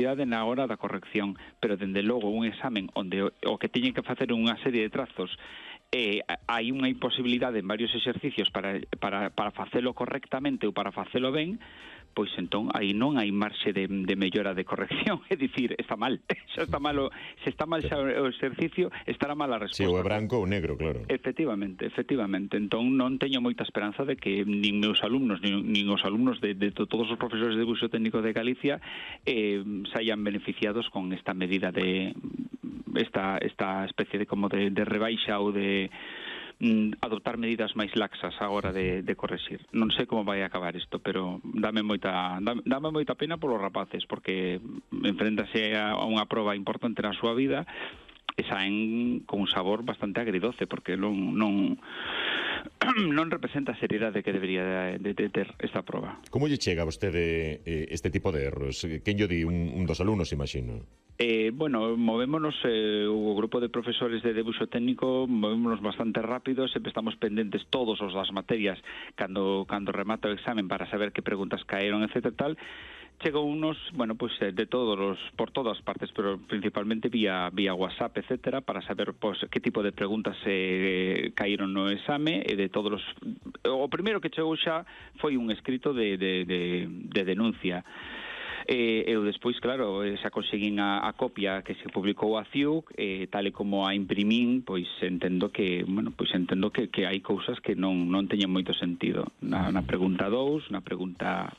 na hora da corrección, pero dende logo un examen onde o que teñen que facer unha serie de trazos hai unha imposibilidade en varios exercicios para facelo correctamente ou para facelo ben, pois entón aí non hai marxe de mellora de corrección, é dicir, está mal, xa está malo, se está mal xa o exercicio, estará mal a resposta. Si, o é branco ou negro, claro. Efectivamente, entón non teño moita esperanza de que nin meus alumnos, nin os alumnos de todos os profesores de debuxo técnico de Galicia saian beneficiados con esta medida de esta especie de como de rebaixa ou de adoptar medidas máis laxas a hora de correxir. Non sei como vai acabar isto, pero dame moita pena polos rapaces, porque enfréntase a unha proba importante na súa vida e saen con un sabor bastante agridoce, porque non representa a seriedade que debería de ter esta proba. Como lle chega a vostede este tipo de erros? Quen lle di? Un dos alumnos, imagino. Bueno, movémonos, o grupo de profesores de debuxo técnico movémonos bastante rápido, sempre estamos pendentes todos os das materias cando remata o examen para saber que preguntas caeron, etc. tal. Chegou unos, bueno, pues por todas partes, pero principalmente vía WhatsApp, etcétera, para saber pues que tipo de preguntas caíron no exame e de todos os... O primeiro que chegou xa foi un escrito de denuncia. Eu despois, claro, xa conseguín a copia que se publicou a CIUC, tal e como a imprimín, pois entendo que hai cousas que non teñen moito sentido. Na pregunta 2, na pregunta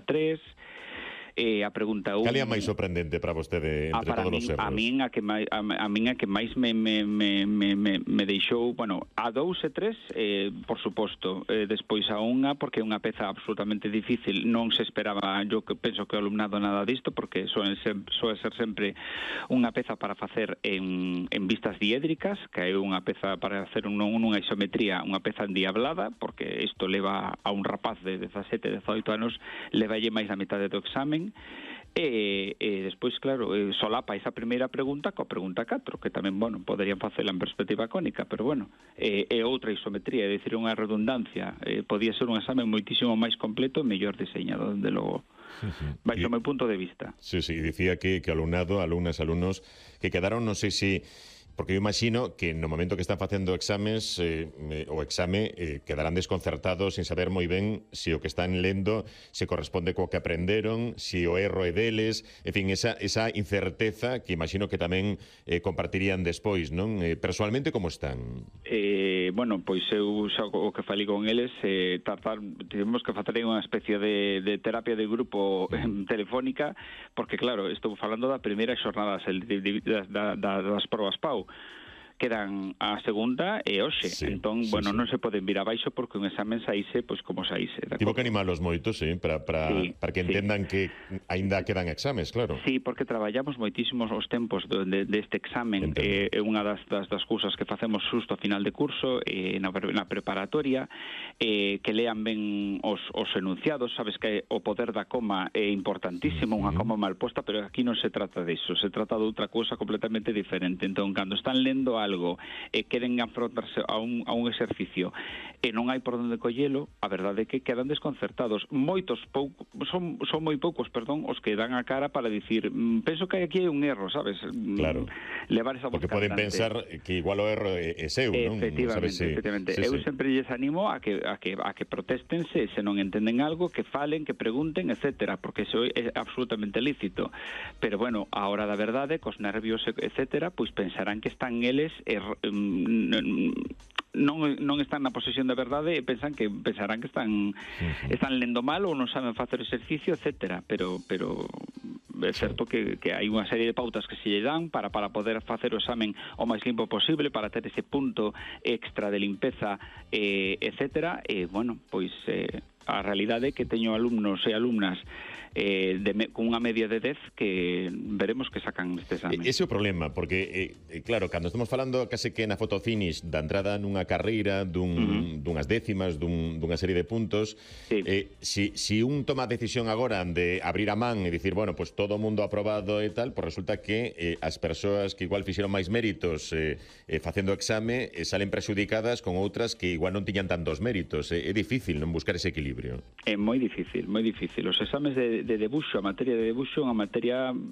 3, a pregunta 1... Cal é a máis sorprendente para vostede entre todos os erros? A min a que máis me deixou, bueno, a 2 e 3, por suposto, despois a unha, porque é unha peza absolutamente difícil, non se esperaba, eu penso que o alumnado nada disto, porque soe ser sempre unha peza para facer en vistas diédricas, que é unha peza para hacer unha isometría, unha peza endiablada, porque isto leva a un rapaz de 17, 18 anos, levalle máis da metade do examen. E despois, claro, solapa esa primeira pregunta coa pregunta 4, que tamén, bueno, poderían facela en perspectiva cónica, pero bueno, é outra isometría, é dicir, unha redundancia. Podía ser un examen moitísimo máis completo e mellor diseñado, desde logo. Baixo o meu punto de vista. Sí, dicía que alumnado, alumnos que quedaron, non sei se... Porque eu imagino que no momento que están facendo exames o exame quedarán desconcertados sin saber moi ben se o que están lendo se corresponde co que aprenderon, se o erro é deles, en fin, esa incerteza que imagino que tamén compartirían despois, non? Personalmente, como están? Bueno, pois eu xa o que falei con eles, tivemos que facer unha especie de terapia de grupo telefónica, porque claro, estou falando da primeira xornada das probas PAU. Quedan a segunda e hoxe, entón, bueno, non se poden vir abaixo porque un examen saíse, pois como saíse. Tivo que animalos moito, para que entendan que aínda quedan exames, claro. Sí, porque traballamos moitísimos os tempos deste examen, é unha das cousas que facemos xusto a final de curso, na preparatoria, que lean ben os enunciados, sabes que o poder da coma é importantísimo, unha coma mal posta, pero aquí non se trata disso, se trata de outra cousa completamente diferente. Entón, cando están lendo algo e queren afrontarse a un exercicio e non hai por onde collelo, a verdade é que quedan desconcertados. Son moi poucos, os que dan a cara para dicir, penso que aquí hai un erro, sabes? Claro. Levar esa voz porque poden pensar que igual o erro é seu, non? Efectivamente. Eu sempre lles animo a que protestense, se non entenden algo, que falen, que pregunten, etcétera, porque iso é absolutamente lícito. Pero bueno, a hora da verdade, cos nervios, etcétera, pois pensarán que están eles non están na posesión da verdade e pensarán que están lendo mal ou non saben facer exercicio, etcétera, pero é certo que hai unha serie de pautas que se lle dan para poder facer o examen o máis limpo posible, para ter ese punto extra de limpeza, etcétera, e bueno, pois a realidade é que teño alumnos e alumnas con unha media de 10 que veremos que sacan este examen. Ese é o problema, porque, claro, cando estamos falando case que na fotofinish da entrada nunha carreira, dunhas décimas, dunha serie de puntos, si un toma a decisión agora de abrir a man e dicir, bueno, pues todo o mundo aprobado e tal, pues resulta que as persoas que igual fixeron máis méritos facendo o exame salen prexudicadas con outras que igual non tiñan tantos méritos. É difícil non buscar ese equilibrio. equilibrio? É moi difícil, moi difícil. Os exames de debuxo, a materia de debuxo é unha materia